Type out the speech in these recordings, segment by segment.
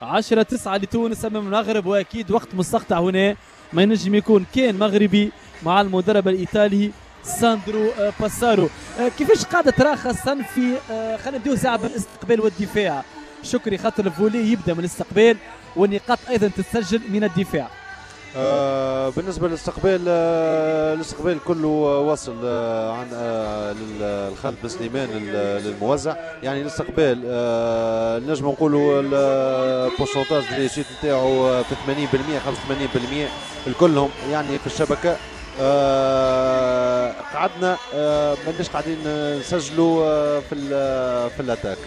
10-9 لتونس امام المغرب، واكيد وقت مستقطع هنا ما ينجم يكون كان مغربي مع المدرب الايطالي ساندرو باسارو. كيفاش قاعدة ترى خاصة في خلينا نبداو ساعة بالاستقبال والدفاع شكري، خاطر ال volley يبدا من الاستقبال والنقاط ايضا تتسجل من الدفاع. بالنسبة للاستقبال، الاستقبال كله وصل عن للخالد بن سليمان للموزع. يعني الاستقبال نجم نقولوا ال pourcentage réussite نتاعو في 80% 85% الكلهم يعني في الشبكة. قعدنا ماناش قاعدين نسجلوا في l'attaque،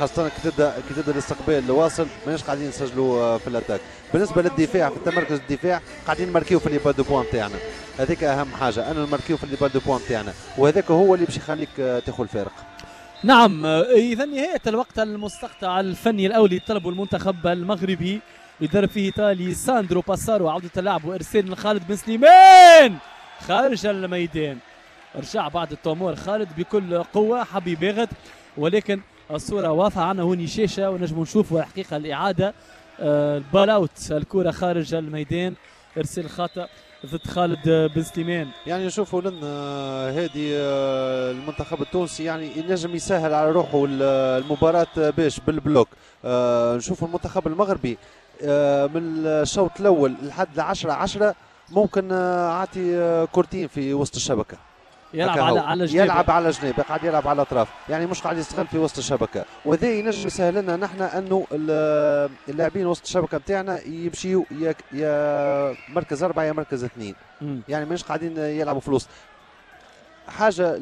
خاصة كي تبدا الاستقبال واصل ماناش قاعدين نسجلوا في l'attaque. بالنسبة للدفاع، في التمركز الدفاع قاعدين نماركيو في les balles de pointe تاعنا، هذيك أهم حاجة، أنه نماركيو في les balles de pointe تاعنا، وهذاك هو اللي باش يخليك تاخذ الفارق. نعم، إذا نهاية الوقت المستقطع الفني الأولي طلبه المنتخب المغربي يدرب فيه إيطالي ساندرو باسارو. عودة اللعب وإرسال من خالد بن سليمان خارج الميدان، رجع بعد التمور خالد بكل قوة، حب يباغت ولكن الصورة واضحة عندنا هوني شاشة ونجم نشوفوا الحقيقة الإعادة. ال balle out، الكرة خارج الميدان، إرسال خطأ ضد خالد بن سليمان. يعني نشوفوا لنا هادي المنتخب التونسي يعني ينجم يسهل على روحه المباراة باش بال bloc. نشوفوا المنتخب المغربي من الشوط الأول لحد 10-10 ممكن عاطي كورتين في وسط الشبكة. يلعب على جناب، يلعب على جناب، قاعد يلعب على الاطراف، يعني مش قاعد يستغل في وسط الشبكة، وهذا ينجم يسهل لنا نحن انه اللاعبين وسط الشبكة نتاعنا يمشيوا يا مركز 4 يا مركز 2، يعني مش قاعدين يلعبوا في الوسط. حاجة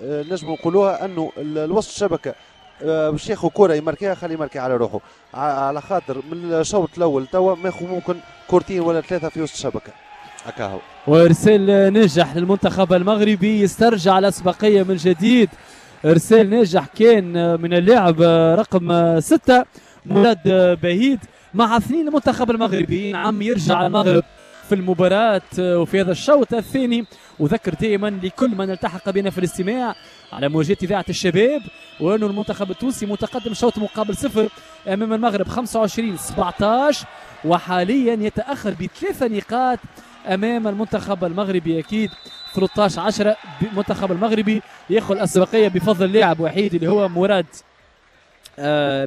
نجم نقولوها انه الوسط الشبكة باش ياخذ كره يماركيها، خليه يماركي على روحه، على خاطر من الشوط الاول توا ماخذ ممكن كورتين ولا ثلاثة في وسط الشبكة هكا هو. وارسال ناجح للمنتخب المغربي يسترجع الاسبقيه من جديد. ارسال ناجح كان من اللاعب رقم 6 مراد بهيد مع 2 المنتخب المغربي. نعم، يرجع المغرب في المباراة وفي هذا الشوط الثاني. وذكر دائما لكل من التحق بنا في الاستماع على موجات إذاعة الشباب وأنه المنتخب التونسي متقدم شوط مقابل 0 أمام المغرب 25-17، وحاليا يتأخر بثلاثة نقاط أمام المنتخب المغربي. أكيد 13-10 المنتخب المغربي ياخذ الأسبقية بفضل لاعب وحيد اللي هو مراد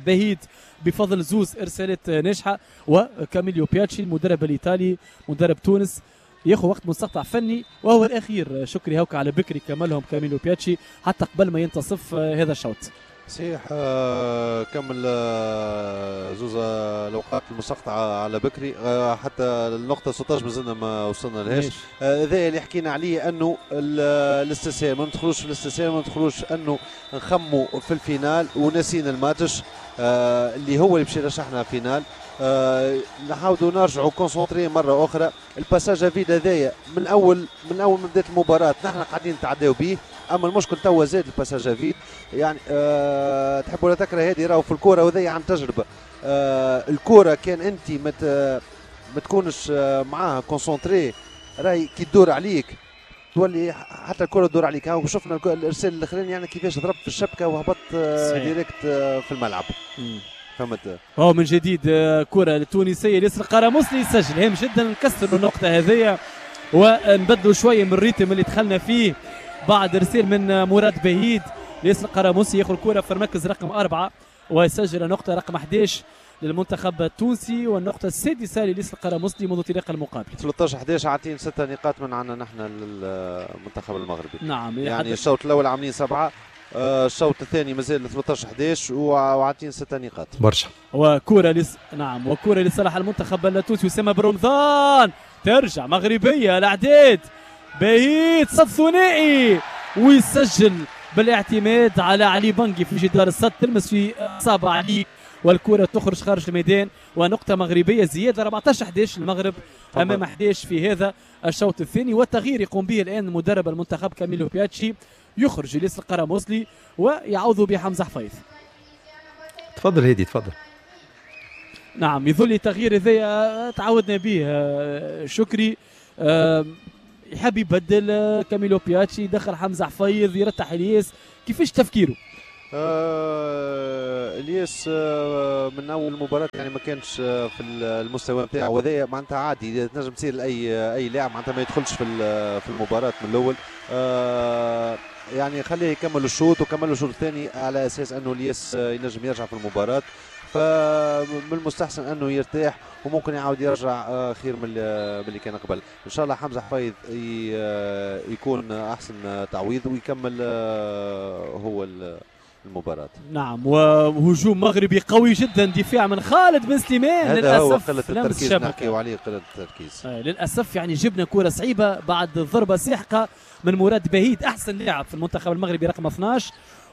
بهيد، بفضل زوز ارسالات ناجحه. وكاميليو بياتشي المدرب الايطالي مدرب تونس ياخذ وقت مستقطع فني وهو الاخير. شكري هوكا على بكري كملهم كاميليو بياتشي حتى قبل ما ينتصف هذا الشوط. صحيح، كمل زوز الاوقات المستقطعه على بكري، حتى النقطة 16 مازلنا ما وصلنا لهاش. هذا اللي حكينا عليه، انه الاستسهال، ما ندخلوش في الاستسهال، ما ندخلوش انه نخموا في ال finale وناسين الماتش اللي هو اللي باش يرشحنا finale. نحاولوا نرجعوا concentrés مرة اخرى. ال passage à vide هذايا من اول ما بدات المباراة نحن قاعدين نتعداو به، اما المشكل توا زاد ال passage à vide. يعني تحب ولا تكره هذه راهو في الكورة وهذه عن تجربه. الكورة كان انت ما تكونش معاها concentré راهي كي تدور عليك تولي حتى الكره تدور عليك. ها شفنا الارسال الاخراني يعني كيفاش ضرب في الشبكة وهبط direct في الملعب، فهمت؟ هو من جديد كرة التونسية الياس القرموسلي يسجل، هام جدا نكسر النقطة هذيا ونبدلوا شوية من ال rythme اللي دخلنا فيه بعد ارسال من مراد بهيد. الياس القرموسي ياخذ الكرة في المركز رقم 4 ويسجل نقطة رقم 11 للمنتخب التونسي والنقطة السادسة للياس القرموسلي منذ انطلاق المقابلة. 13-11، عاطين 6 نقاط من عندنا نحن للمنتخب المغربي. يعني الشوط الأول عاملين 7، الشوط الثاني مازال 13-11 وعاطين 6 نقاط. برشا. وكرة لس... نعم، وكرة لصالح المنتخب التونسي، أسامة برمضان، ترجع مغربية، الأعداد بعيد، صد ثنائي ويسجل بالاعتماد على علي بنجي في جدار الصد، تلمس في اصابع علي والكرة تخرج خارج الميدان ونقطة مغربية زيادة، 14-11 المغرب أمام 11 في هذا الشوط الثاني. والتغيير يقوم به الآن مدرب المنتخب كاميلو بياتشي، يخرج الياس القرموسلي ويعوض بحمزة حفيظ. تفضل هادي، تفضل. نعم، يظل التغيير هذايا تعودنا به شكري، يحب يبدل كاميلو بياتشي، يدخل حمزة حفيظ، يرتح الياس، كيفاش تفكيره؟ الياس من اول مباراة يعني ما كانش في المستوى نتاعو، وهذا معناتها عادي تنجم تصير لاي لاعب معناتها ما يدخلش في المباراة من الاول. يعني خليه يكمل الشوط وكمل الشوط الثاني على اساس انه الياس ينجم يرجع في المباراة، فمن المستحسن انه يرتاح وممكن يعاود يرجع خير من اللي كان قبل. ان شاء الله حمزة حفيظ يكون احسن تعويض ويكمل هو المباراة. نعم، وهجوم مغربي قوي جدا، دفاع من خالد بن سليمان. هذا هو قلة التركيز، نحكيو عليه قلة التركيز. للأسف يعني جبنا كرة صعيبة بعد ضربة ساحقة من مراد بهيد أحسن لاعب في المنتخب المغربي رقم 12،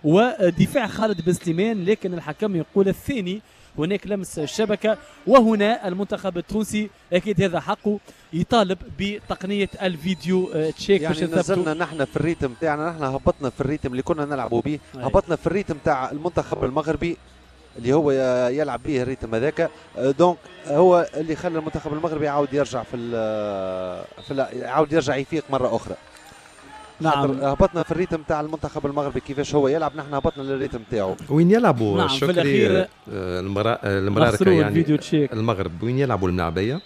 ودفاع خالد بن سليمان، لكن الحكم يقول الثاني هناك لمس الشبكة، وهنا المنتخب التونسي أكيد هذا حقه يطالب بتقنية ال vidéo check. يعني نزلنا نحن في ال rythme تاعنا، نحن هبطنا في ال rythme اللي كنا نلعبوا به، هبطنا في ال rythme تاع المنتخب المغربي اللي هو يلعب به ال rythme هذاك، donc هو اللي خلى المنتخب المغربي يعاود يرجع في يعاود يرجع يفيق مرة أخرى. نعم، هبطنا في ال rythme تاع المنتخب المغربي كيفاش هو يلعب، نحن هبطنا لل rythme تاعو. وين يلعبوا؟ نعم، شكري المراركه يعني المغرب وين يلعبوا الملاعبيه؟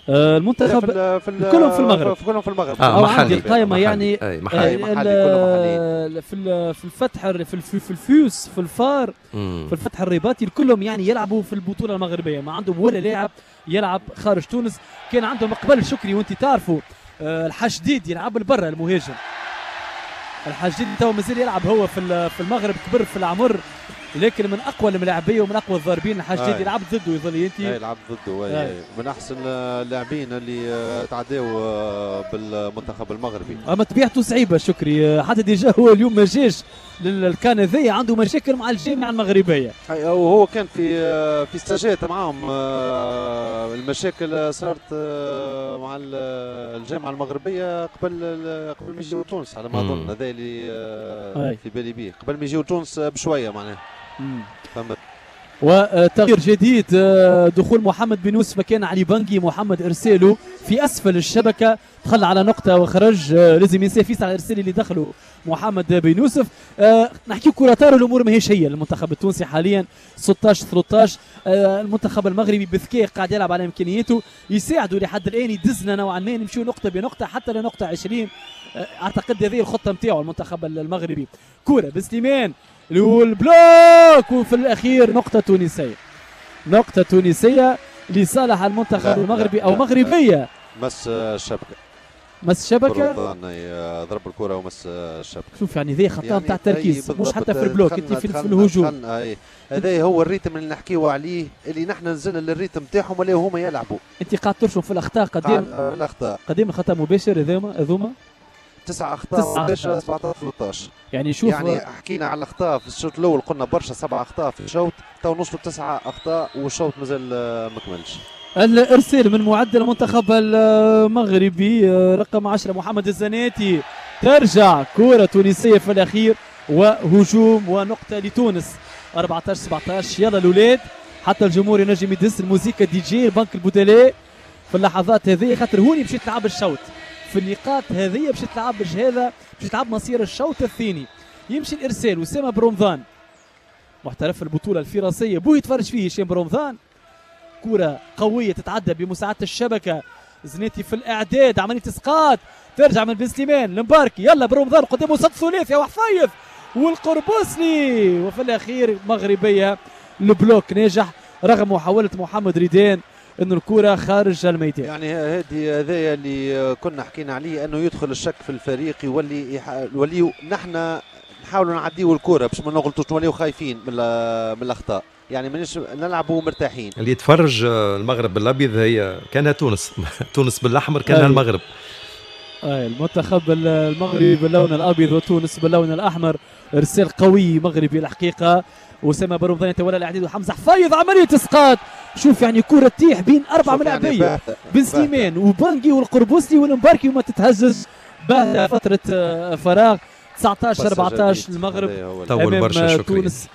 المنتخب كلهم في المغرب، كلهم في المغرب. محلي القائمة يعني محلي، كلهم محليين. في الفتح، في الفيوس، في الفار، في الفتح الرباطي، كلهم يعني يلعبوا في البطولة المغربية، ما عندهم ولا لاعب يلعب خارج تونس. كان عندهم قبل شكري وانت تعرفوا الحشديد يلعب لبرا، المهاجم الحشديد تو مازال يلعب هو في المغرب، كبر في العمر، لكن من اقوى الملاعبيه ومن اقوى الضاربين الحشديد. يلعب ضده يظل انت يلعب ضده، من احسن اللاعبين اللي تعداو بالمنتخب المغربي. اما طبيعته صعيبة شكري، حتى déjà هو اليوم ما جاش للكان هذايا، عنده مشاكل مع الجامعة المغربية، وهو كان في ستاجات معاهم. المشاكل صارت مع الجامعة المغربية قبل ما يجيو تونس على ما اظن، هذا اللي في بالي بيه، قبل ما يجيو تونس بشوية معناها. وتغيير جديد، دخول محمد بن يوسف مكان علي بنجي. محمد ارساله في اسفل الشبكة، دخل على نقطة وخرج، لازم ينسى فيس على الارسال اللي دخله محمد بن يوسف. نحكي كره طار، الامور ماهيش هي المنتخب التونسي حاليا 16-13. المنتخب المغربي بذكاء قاعد يلعب على امكانياته، يساعده لحد الان، يدزنا نوعا ما، نمشيو نقطة بنقطة حتى لنقطة 20. اعتقد هذه الخطة نتاعو المنتخب المغربي. كره بسليمان وال bloc، وفي الاخير نقطة تونسية، نقطة تونسية لصالح المنتخب المغربي او مغربية. مس الشبكة، مس الشبكة، ضرب الكره ومس الشبكة. شوف يعني ذي خطا نتاع يعني تركيز، مش حتى في ال bloc، انت في الهجوم. هذا هو ال rythme اللي نحكيو عليه، اللي نحن نزلنا لل rythme تاعهم ولا هما يلعبوا. انت قاعد ترشم في الاخطاء قدام الاخطاء، قدام خطا مباشر هذوما 9 اخطاء مباشرة 17-13. يعني شوف، يعني حكينا على الاخطاء في الشوط الاول، قلنا برشا 7 اخطاء في الشوط، تو نوصلوا 9 اخطاء والشوط مازال ما كملش. الارسال من معدل المنتخب المغربي رقم 10 محمد الزناتي، ترجع كرة تونسية في الاخير وهجوم ونقطة لتونس 14-17. يلا الاولاد، حتى الجمهور ينجم يدس الموسيقى دي جي البنك البدلاء في اللحظات هذه، خاطر هوني باش تلعب الشوط في النقاط هذه، باش تلعب هذا، باش تلعب مصير الشوط الثاني. يمشي الارسال وسامة برمضان محترف البطولة الفرنسية، بوه يتفرج فيه هشام برمضان. كرة قوية تتعدى بمساعدة الشبكة، زنيتي في الإعداد، عملية إسقاط ترجع من بن سليمان المباركي، يلا برمضان قدامه صد ثلاثي وحفيظ والقربوسلي، وفي الأخير مغربية. ال bloc ناجح رغم محاولة محمد ريدان انه الكرة خارج الميدان. يعني هذايا اللي كنا حكينا عليه، انه يدخل الشك في الفريق، يولي نحن نحاولوا نعديو الكرة باش ما نغلطوش، نوليو خايفين من الاخطاء، يعني مانيش نلعبوا مرتاحين. اللي يتفرج المغرب بالابيض هي كانها تونس، تونس بالاحمر كانها المغرب. المنتخب المغربي باللون الابيض وتونس باللون الاحمر. ارسال قوي مغربي الحقيقة، اسامة برمضان يتولى الاعداد، وحمزة حفيظ عملية اسقاط. شوف يعني كره تطيح بين اربع ملاعبيه، يعني بن سليمان وبانجي والقربوسلي والمباركي وما تتهزز بعد فترة فراغ. 19-14 المغرب امام تونس.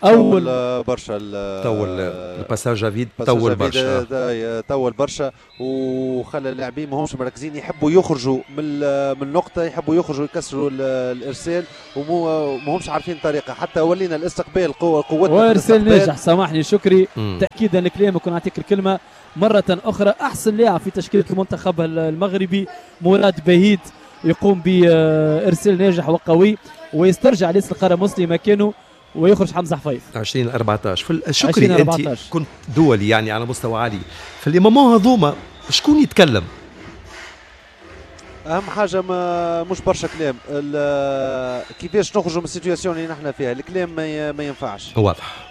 اول برشا طول ال passage à vide، طول برشا، طول برشا وخلى اللاعبين ما همش مركزين، يحبوا يخرجوا من النقطة، يحبوا يخرجوا يكسروا الارسال وما همش عارفين الطريقة. حتى ولينا الاستقبال قوتنا. وارسال ناجح، سامحني شكري، تاكيدا لكلامك ونعطيك الكلمة مرة اخرى. احسن لاعب في تشكيله المنتخب المغربي مراد بهيد يقوم بارسال ناجح وقوي ويسترجع ليس القرموسلي مكانه ويخرج حمزة حفيظ. 20-14. شكري انت كنت دولي يعني على مستوى عالي، في les moments هذوما شكون يتكلم؟ اهم حاجة ما مش برشا كلام، كيفاش نخرجوا من ال situation اللي نحن فيها، الكلام ما ينفعش. واضح.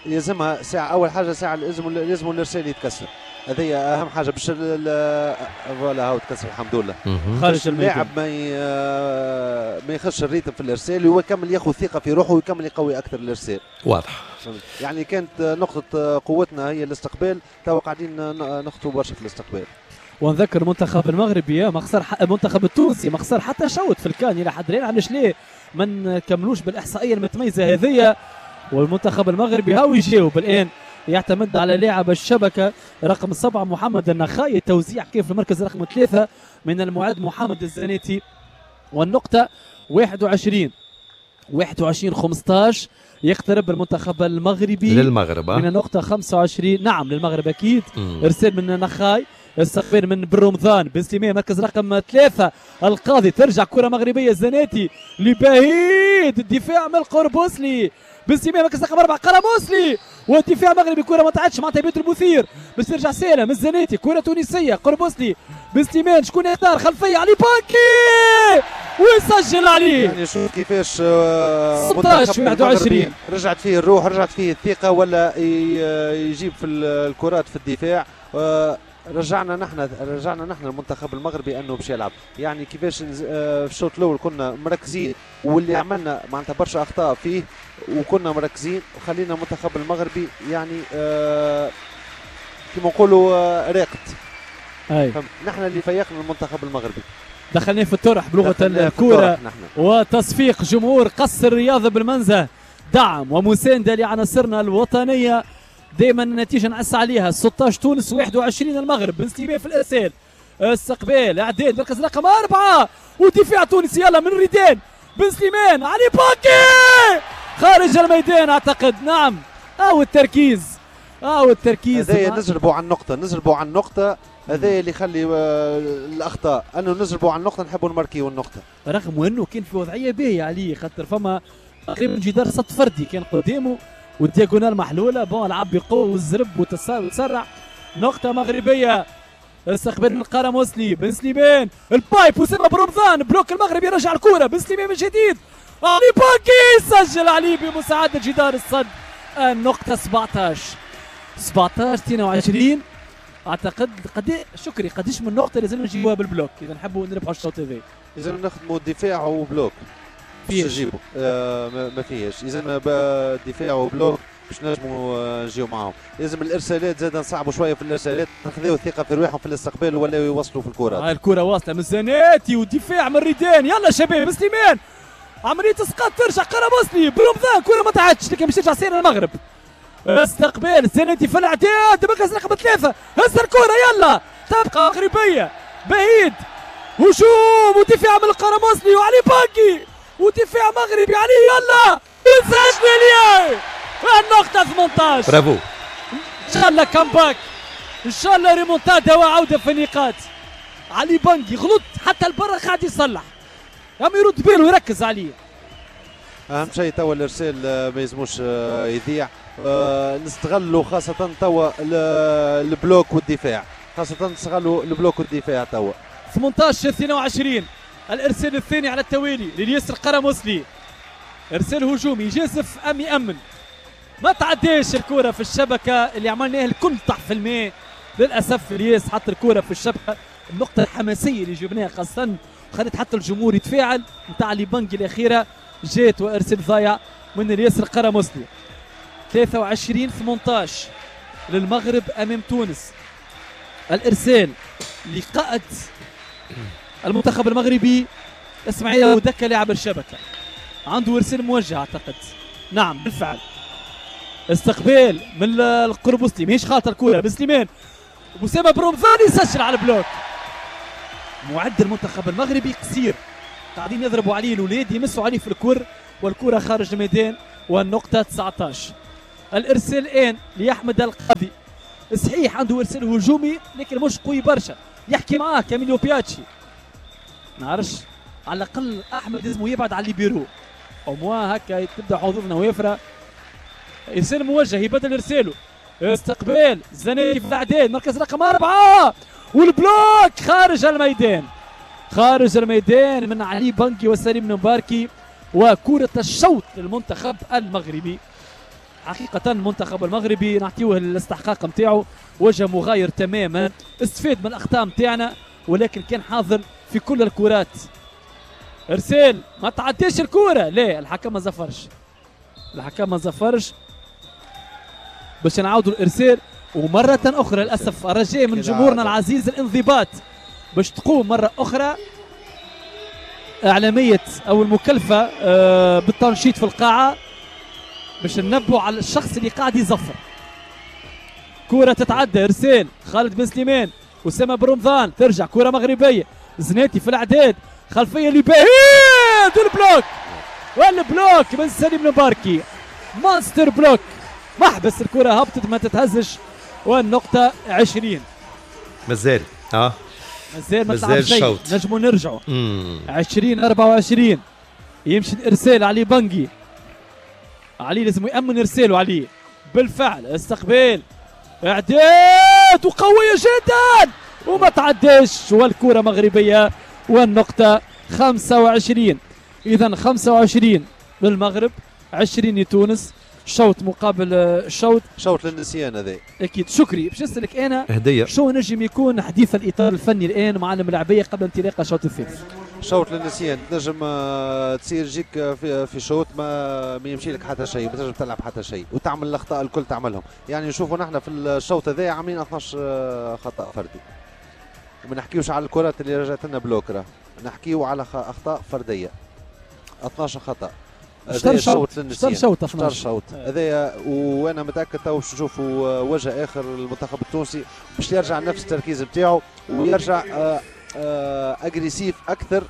يلزمها ساعة، اول حاجة ساعة لازم الارسال يتكسر، هذه اهم حاجة باش voilà هاو تكسر الحمد لله. خارج اللاعب ما يخش ال rythme في الارسال ويكمل ياخذ ثقة في روحه ويكمل يقوي اكثر الارسال. واضح. يعني كانت نقطة قوتنا هي الاستقبال، تو قاعدين نخطوا برشا في الاستقبال. ونذكر المنتخب المغربي ما خسر، المنتخب التونسي ما خسر حتى شوط في الكان الى حد الان، علاش ليه ما نكملوش بالاحصائيه المتميزة هذه؟ والمنتخب المغربي هاو يجاوب الان، يعتمد على لاعب الشبكة رقم 7 محمد النخاي، توزيع كيف في المركز رقم 3 من المعد محمد الزناتي. والنقطة 21-15 يقترب المنتخب المغربي للمغرب من النقطة 25. نعم للمغرب أكيد. إرسال من النخاي، استقبال من بن رمضان، بن سليمان مركز رقم 3 القاضي، ترجع كرة مغربية الزناتي لبهيد، الدفاع من القربوسلي، بن سليمان مركز رقم 4 قرموسلي، والدفاع مغربي، كرة ما تعدش مع تبيت المثير، باش ترجع سالم الزناتي، كرة تونسية قربوسلي، بن سليمان شكون يختار، خلفية علي بانكي ويسجل عليه. يعني شوف كيفاش 16-21 رجعت فيه الروح، رجعت فيه الثقة، ولا يجيب في الكرات في الدفاع. رجعنا نحن المنتخب المغربي انه باش يلعب. يعني كيفاش في الشوط الاول كنا مركزين واللي عملنا معناتها برشا اخطاء فيه وكنا مركزين وخلينا المنتخب المغربي يعني كيما نقولوا راقد. نحن اللي فيقنا المنتخب المغربي، دخلناه في الطرح بلغه الكورة. وتصفيق جمهور قصر الرياضة بالمنزه، دعم ومسانده لعناصرنا الوطنية. دائما النتيجة نعس عليها 16 تونس 21 المغرب. بن سليمان في الارسال، استقبال اعداد مركز رقم 4 ودفاع تونسي، يلا من ريدان، بن سليمان علي باكي خارج الميدان اعتقد. نعم او التركيز، او التركيز. هذايا نزربوا على النقطة، نزربوا على النقطة، هذا اللي يخلي الاخطاء، انه نزربوا على النقطة، نحبوا نماركيو النقطة. رغم انه كان في وضعية باهيه عليه، خاطر فما تقريبا جدار صد فردي كان قدامه وال diagonale محلولة، bon لعب بقوة والزرب وتسرع. نقطة مغربية، استقبال من القرموسلي، بن سليمان ال pipe وسام برمضان، bloc المغربي يرجع الكره، بن سليمان من جديد، علي باكي سجل عليه بمساعدة جدار الصد. النقطة 17-22 اعتقد. قد شكري قديش من نقطة لازم نجيبوها بال bloc اذا نحبوا نربحوا الشوط هذا؟ لازم نخدموا دفاع و bloc باش نجيبوا، ما فيهاش، لازم دفاع و bloc باش نجموا نجيو معاهم. لازم الارسالات زاد نصعبوا شوية في الارسالات، نخذوا الثقة في رواحهم في الاستقبال ولا يوصلوا في الكرات. هاي الكره واصله من زناتي ودفاع من ريدان، يلا شباب سليمان، عملية اسقاط ترجع قرموسلي برمضان، كره ما تعدش لكن باش ترجع سير المغرب. استقبال زناتي في الاعداد مركز رقم 3، هز الكره يلا تبقى مغربية، بعيد هجوم ودفاع من القرموسلي وعلي باكي ودفاع مغربي علي، يلا يسجل ليه النقطة 18. برافو، ان شاء الله comeback، ان شاء الله ريمونتادا وعودة في النقاط. علي بانكي غلط حتى البرا قاعد يصلح، عم يرد باله ويركز عليه. اهم شيء توا الارسال ما يلزموش يضيع، نستغلوا خاصة توا ال bloc والدفاع، خاصة نستغلوا ال bloc والدفاع توا. 18-22 الارسال الثاني على التوالي لليسر قرموسلي، ارسال هجومي جازف ام يامن، ما تعداش الكرة في الشبكة اللي عملناها الكل طاح في الماء للاسف. الياس حط الكرة في الشبكة، النقطة الحماسية اللي جبناها خاصة خلت حتى الجمهور يتفاعل نتاع علي بانكي الأخيرة جات وارسال ضايع من الياسر قرموسلي. 23-18 للمغرب امام تونس. الارسال لقائد المنتخب المغربي اسماعيل ودكة لاعب الشبكة، عنده ارسال موجه اعتقد. نعم بالفعل استقبال من القربوسلي، ماهيش خاطر الكره بن سليمان، اسامة بن رمضان يسجل على ال bloc. معد المنتخب المغربي قصير، قاعدين يضربوا عليه الاولاد، يمسوا عليه في الكر والكره خارج الميدان، والنقطة 19. الارسال الان لاحمد القاضي، صحيح عنده ارسال هجومي لكن مش قوي برشا، يحكي معاه كاميليو بياتشي، نعرفش على الاقل احمد لازم يبعد على الليبيرو au moins هكا تبدا حظوظنا وافرة. ارسال موجه يبدل ارساله، استقبال زناتي في الاعداد، مركز رقم 4 وال bloc خارج الميدان، خارج الميدان من علي بنكي وسليم المباركي، وكرة الشوط للمنتخب المغربي. حقيقة المنتخب المغربي نعطيوه الاستحقاق نتاعو، وجه مغاير تماما، استفاد من الاخطاء نتاعنا ولكن كان حاضر في كل الكرات. ارسال ما تعديش الكرة، لا الحكم ما زفرش، الحكم ما زفرش باش نعاودوا الارسال. ومرة أخرى للأسف الرجاء من جمهورنا العزيز الانضباط باش تقوم مرة أخرى إعلامية أو المكلفة بالتنشيط في القاعة باش ننبهوا على الشخص اللي قاعد يزفر. كرة تتعدى، إرسال خالد بن سليمان، أسامة بن رمضان، ترجع كرة مغربية، زناتي في الأعداد، خلفية لبهيد، ال bloc وال bloc من سليم المباركي، monster block، محبس الكرة هبطت ما تتهزش، والنقطة 20. مازال مازال ما تلعب شيء، نجموا نرجعوا 20-24. يمشي الارسال علي بنجي، علي لازم يأمن ارساله علي، بالفعل استقبال اعداد وقوية جدا وما تعداش، والكرة مغربية، والنقطة 25. اذا 25 للمغرب، 20 لتونس، شوط مقابل شوط، شوط للنسيان هذا اكيد. شكري باش نسالك انا هديه، شو نجم يكون حديث الاطار الفني الان مع الملاعبيه قبل انطلاق الشوط الثالث؟ شوط للنسيان، تنجم تصير جيك في شوط ما يمشي لك حتى شيء، ما تنجم تلعب حتى شيء وتعمل الاخطاء الكل تعملهم. يعني نشوفوا نحن في الشوط هذا عاملين 12 خطا فردي، وما نحكيوش على الكرات اللي رجعت لنا bloc، راه نحكيو على اخطاء فردية 12 خطا. شوط شوط 12 شوط هذايا، وانا متاكد تو باش نشوفوا وجه اخر للمنتخب التونسي باش يرجع نفس التركيز نتاعو ويرجع agressif اكثر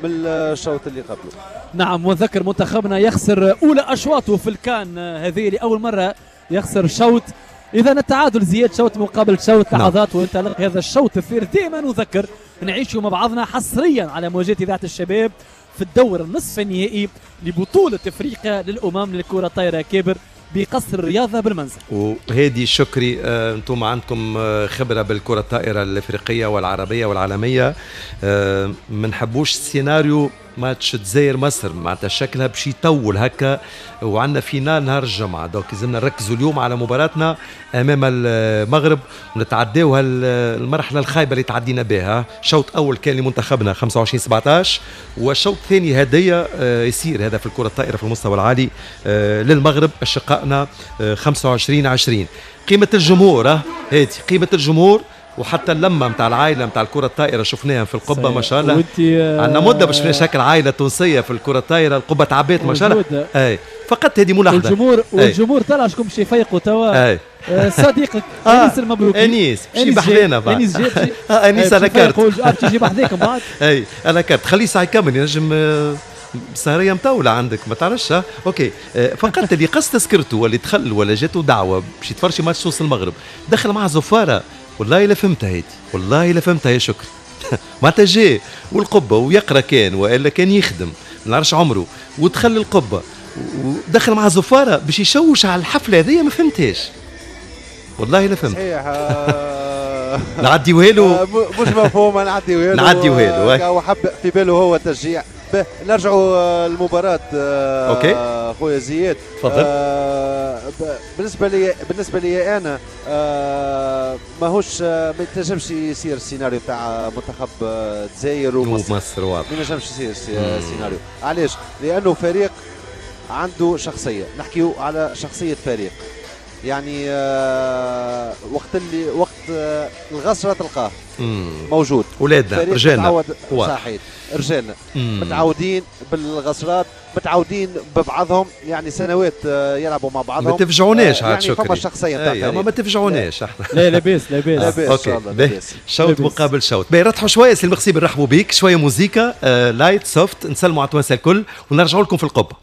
من الشوط اللي قبله. نعم، وذكر منتخبنا يخسر اولى اشواطه في الكان، هذه لاول مرة يخسر شوط. اذا التعادل زياد، شوط مقابل شوط، لحظات وانطلاق هذا الشوط الثالث. دائما نذكر نعيشوا مع بعضنا حصريا على موجات اذاعة الشباب في الدور النصف النهائي لبطولة افريقيا للأمم للكرة الطايرة كابر بقصر الرياضة بالمنزل. وهادي شكري، انتم عندكم خبرة بالكرة الطائرة الافريقية والعربية والعالمية، ما نحبوش سيناريو ماتش الجزائر مصر، معناتها شكلها باش يطول هكا، وعندنا finale نهار الجمعة، donc لازمنا نركزوا اليوم على مباراتنا امام المغرب ونتعداو المرحلة الخايبة اللي تعدينا بها. شوط اول كان لمنتخبنا 25-17، والشوط الثاني هديه يصير هذا في الكره الطائرة في المستوى العالي للمغرب اشقائنا 25-20. قيمة الجمهور هادي، قيمة الجمهور وحتى اللمة نتاع العائلة نتاع الكره الطائرة شفناها في القبة ما شاء الله. عندنا مده باش شفنا شكل عائلة تونسية في الكره الطائرة، القبة تعبات ما شاء الله. اي فقط هذه ملاحظة. والجمهور والجمهور طلع شكون باش يفيقوا توا. صديقك انيس المبروكي، انيس باش بحذانا بعد. انيس جاب انيس انا كارت باش يجي بحذاكم بعد. اي انا كارت، خليه ساعة يكمل ينجم سهريه مطولة عندك ما تعرفش. OK فقط اللي قص تذكرته واللي دخل ولا جاته دعوه باش يتفرج ماتش تونس المغرب دخل مع زفاره، والله لا فهمتها هيدي، والله لا فهمتها يا شكري. معناتها جاي والقبه ويقرا كان والا كان يخدم ما نعرفش عمره، ودخل القبة ودخل مع زفاره باش يشوش على الحفلة هذيا، ما فهمتهاش والله لا فهمت. صحيح نعديوها له مش مفهومه، نعديوها له نعديوها له وحب في باله هو التشجيع. نرجعوا للمباراة. OK خويا زياد تفضل. بالنسبة لي انا ماهوش ما يتنجمش يصير السيناريو تاع منتخب الجزائر ومصر، واضح ما ينجمش يصير السيناريو. علاش؟ لانه فريق عنده شخصية، نحكيو على شخصية فريق. يعني وقت الغسره تلقاه موجود. ولادنا رجالنا. صحيح رجالنا متعودين بالغسرات، متعودين ببعضهم، يعني سنوات يلعبوا مع بعضهم. ما تفجعوناش عاد يعني شكري. فما شخصية نتاع ما تفجعوناش احنا. لا لاباس لاباس. لاباس ان شاء الله لاباس. شوط مقابل شوط. باهي رتحوا شوية سي المخصي، نرحبوا بيك، شوية موزيكا light soft، نسلموا على التوانسة الكل ونرجعوا لكم في القبة.